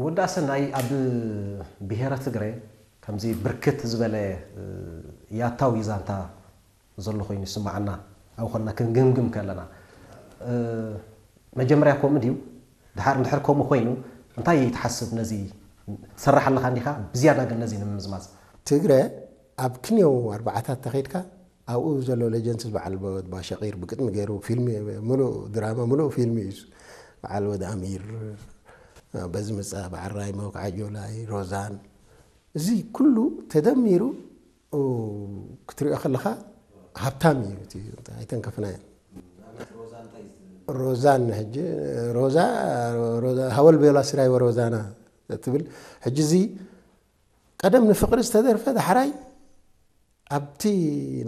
ወዲ ኣሰናይ ኣብ ብሄረ ትግረ ከምዚ ብርክት ዝበለ ያታዊ ዛንታ ዘሎ ኮይኑ ይስማዓና። ኣብ ኾንና ክንግምግም ከለና መጀመርያ ከምኡ ድዩ? ድሓር እንድሕር ከምኡ ኮይኑ እንታይ ትሓስብ? ነዚ ትሰርሕ ኣለኻ እንዲኻ? ብዝያዳ ግን ነዚ ንምምዝማዝ ትግረ ኣብ ክንየው ኣርባዓታት ተኸይድካ ኣብኡ ዘሎ ሌጀንድስ በዓል ባሸቂር ብግጥሚ ገይሩ ፊልም፣ ሙሉእ ድራማ፣ ሙሉእ ፊልም እዩ። በዓል ወዲ ኣሚር፣ በዚ ምፃ፣ በዓል ራይሞ፣ ከዓ ጆላይ፣ ሮዛን፣ እዚ ኩሉ ተደሚሩ ክትሪኦ ከለኻ ሃብታም እዩ። ኣይተንከፍናዮ። ሮዛን ሕጂ ሮዛ ሃወል ቤላ ስራይ ወሮዛና ትብል። ሕጂ እዚ ቀደም ንፍቕሪ ዝተደርፈ ዳሕራይ ኣብቲ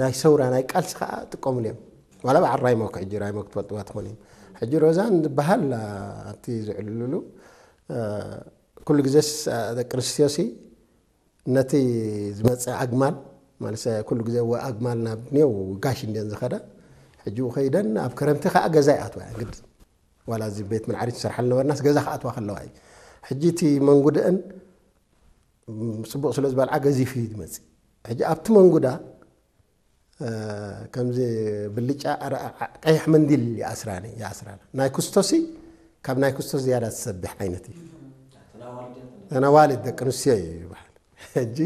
ናይ ሰውራ ናይ ቃልሲ ከዓ ጥቀምሉ እዮም። ዋላ በዓል ራይሞክ ሕጂ ራይሞክ ትፈልጥዋ ትኾኑ እዮም። ሕጂ ሮዛን ዝበሃል ኣብቲ ዝዕልሉ ኩሉ ግዜስ ደቂ ኣንስትዮሲ ነቲ ዝመፀ ኣግማል ማለት ኩሉ ግዜ ወ ኣግማል ናብ ኔው ጋሽ እንድን ዝኸዳ ሕጂ ከይደን ኣብ ክረምቲ ከዓ ገዛ ይኣትዋ ግድ ዋላ እዚ ቤት ምንዓሪ ትሰርሓል ነበርናስ ገዛ ክኣትዋ ከለዋ እዩ። ሕጂ እቲ መንጉድአን ፅቡቕ ስለ ዝበልዓ ገዚፍ እዩ ዝመፅእ። ሕጂ ኣብቲ መንጉዳ ከምዚ ብልጫ ቀይሕ መንዲል ይኣስራኒ ይኣስራና ናይ ክስቶሲ ካብ ናይ ክስቶስ ዝያዳ ትሰብሕ ዓይነት እዩ። ተናዋልድ ደቂ ኣንስትዮ እዩ ይበሃል። ሕጂ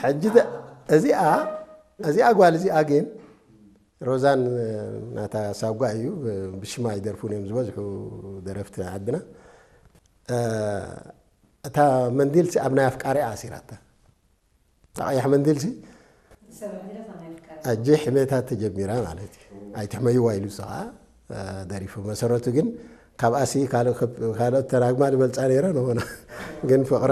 ሕጂ እዚኣ እዚኣ ጓል እዚኣ ግን ሮዛን ናታ ሳጓ እዩ። ብሽማ ይደርፉን እዮም ዝበዝሑ ደረፍቲ ዓድና። እታ መንዲልሲ ኣብ ናይ ኣፍቃሪኣ ኣሲራታ። እታ ቀያሕ መንዲልሲ ሕጂ ሕሜታት ተጀሚራ ማለት እዩ። ኣይትሕመይዋ ኢሉ እሱ ከዓ ደሪፉ። መሰረቱ ግን ካብ ኣሲ ካልኦት ተናግማ ዝበልፃ ነይረ ንኾና ግን ፍቕሪ